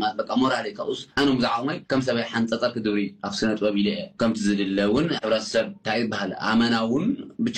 ማለት በቃ ሞራል እዩ። ካብኡስ ኣነ ብዛዕባ ዓቕመይ ከም ሰበይ ሓንፀፀር ክድብሪ ኣብ ስነ ጥበብ ኢለ እየ። ከምቲ ዝድለ እውን ሕብረተሰብ እንታይ ይበሃል ኣመና እውን ብቻ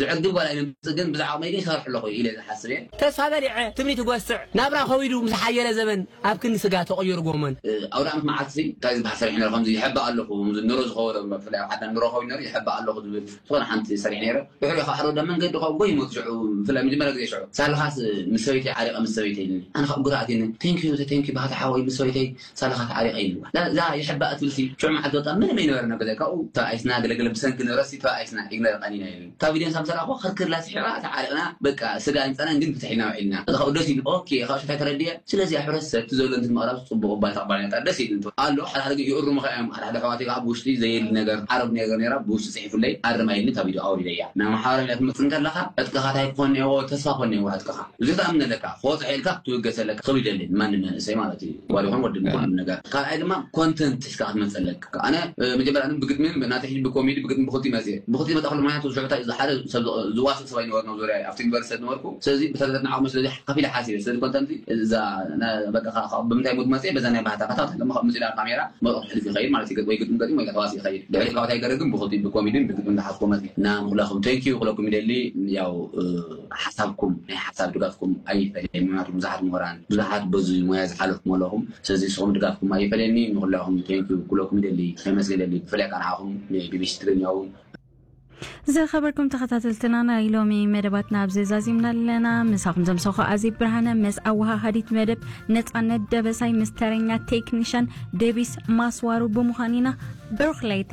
ዝዕግብ ጓል ኣይነምፅእ፣ ግን ብዛዕባ ዓቕመይ ግን ይሰርሕ ኣለኹ ኢለ ዝሓስብ እየ። ተስፋ በሊዐ ትምኒት ይጎስዕ ናብራ ከዊዱ ምስ ሓየለ ዘበን ኣብ ክንዲ ስጋ ተቐይሩ ጎመን። ኣውደ ዓመት መዓልቲ እንታይ ዝበሃል ሰሪሕ ነረ ከምዚ ይሕባእ ኣለኹ ኑሮ ዝኸበረ ብፍላይ ኣብ ዓድና ኑሮ ከዊዱ ነሩ ይሕባእ ኣለኹ ዝብል ዝኾነ ሓንቲ ሰሪሕ ነረ። ድሕሪ ካብ ሓደ ወዳ መንገዲ ካብ ጎይ ሞት ሽዑ ብፍላይ መጀመርያ ግዜ ሽዑ ሳልኻስ ምስ ሰበይቲ ዓሪቐ ምስ ሰበይቲ ኢልኒ ኣነ ካብ ጉራኣት ኢልኒ ቴንኪዩ ቴንኪዩ ባህታ ሓወይ ምስ ሰበይተይ ሳልኻ ተዓሪቐ ኢልዋ። እዛ ይሕባእ ትብልሲ ሽዑ መዓልቲ ወጣ ምንም ኣይነበረ ናብ ገዛ ካብኡ ተባኢስና ገለገለ ብሰንኪ ንብረትሲ ተባኢስና ኢግነር ቀኒና ኢልኒ። ካብ ቪድዮን ሳብ ሰራእኹ ክርክር ላስሒቓ ተዓሪቕና በቃ ስጋ ኣይንፀናን ግን ፍትሕ ኢልና ውዒልና። እዛ ካብኡ ደስ ኢሉ ኦኬ ካብ ሽታይ ተረድየ ስለዚ ኣብ ሕብረተሰብ እቲ ዘሎ እንትን ምቕራብ ፅቡቕ እባ ተቕባልነት ደስ ኢሉ ኣሎ ሓደ ሓደ ግን ይእርሙ ከ እዮም ሓደ ሓደ ኣሕዋተይ ከዓ ብውሽጢ ዘየድሊ ነገር ዓረብ ነገር ነራ ብውሽጢ ፅሒፉለይ ኣርማ ኢልኒ ካብ ቪድዮ ኣውሪደያ ናብ ማሕበራዊ ሚድያ ትመፅእ እንከለካ ዕጥቅኻ እንታይ ክኾን እኒአዎ ተስፋ ክኾን እኒአዎ ዕጥቅኻ እዚ ክትኣምን ኣለካ ክወፅዕ ኢልካ ክትውገስ ኣለካ ክብል ይደሊ ማንም መንእሰይ ማለት እዩ ጓል ይኹን ወዲ ይኹን ነገር ካልኣይ ድማ ኮንተንት ሒዝካ ክትመፅእ ኣለካ ኣነ መጀመርያ ብግጥሚ ናተይ ሕጂ ብኮሜዲ ብግጥሚ ብክልቲኡ መፅየ ብክልቲኡ መፃ ከሎ ምክንያቱ ሽዑ እንታይ ሓደ ሰብ ዝዋስእ ሰብ ኣይነበርና ዙርያ ኣብቲ ዩኒቨርሲቲ ዝነበርኩ ስለዚ ብተዘትናዓቕሚ ስለዚ ከፊለ ሓሲበ ስለዚ ኮንተንት እዛ በቃ ብምንታይ ሙድ መፅየ በዛ ናይ ባህታ ከታ ድማ ካብ ምፅላ ካሜራ መርቕ ትሕልፍ ይኸይድ ማለት እዩ ወይ ግጥሚ ገጢም ወይ ተዋሲ ይኸይድ ድሕሪ ካብታ ይገረ ግን ብክልቲኡ ብኮሜዲን ብግጥሚ ዝሓዝኮ መፅየ እና ንኩላኹም ቴንኪዩ ክለኩም ይደሊ ያው ሓሳብኩም ናይ ሓሳብ ድጋፍኩም ኣይፈለየን ምክንያቱ ብዙሓት ምሁራን ብዙሓት በዚ ሞያ ዝሓለፍኩም ኣለኹም ስለዚ ንስኹም ድጋፍኩም ኣይፈለየኒ ንኩላኹም ቴንኪዩ ክለኩም ይደሊ ከመስገን ይደሊ ብፍላይ ከዓ ንዓኹም ንቢቢሲ ትግርኛ እውን ዝኸበርኩም ተኸታተልትና ናይ ሎሚ መደባትና ኣብዚ ዛዚምና ኣለና ምሳኹም ዘምሰኹ ኣዚ ብርሃነ ምስ ኣወሃሃዲት መደብ ነፃነት ደበሳይ ምስ ተረኛ ቴክኒሽን ደቢስ ማስዋሩ ብምዃን ኢና ብሩኽ ለይቲ